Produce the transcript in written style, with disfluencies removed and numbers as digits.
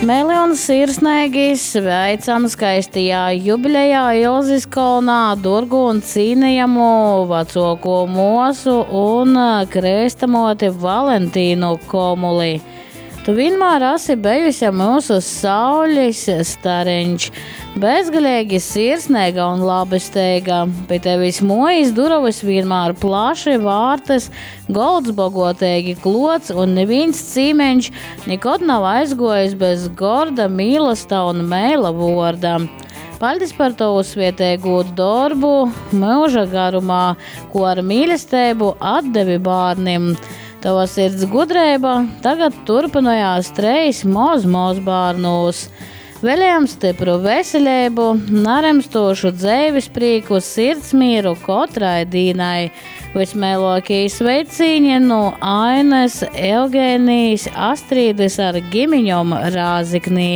Meili un sirsneigi sveicam skaistajā jubilejā Ilzis kolnā durgu un cīnejamu vacuoko muosu un krystamoti Valentīnu Komuli. Tu vienmēr esi bijusi mūsu saules stareņš, bezgalīgi sirsnīga un labesteiga. Pie tevis mojas durovas vienmēr plaši vārtas, golds bogotīgi klots un neviens cīmeņš nekad nav aizgojis bez gorda mīlesta un mēla vorda. Paldies par tavu svietēgo darbu mūža garumā, ko ar mīlestību atdevi bērnim. Tava sirds gudrība tagad turpinājās treis moz moz bērnūs. Vēlējam stipru veselību, naremstošu dzīves prieku, sirdsmieru katrai dīnai. Vismēlākie sveicīņi no Ainas, Eugēnijas, Astrīdes ar gimiņom Rāziknī.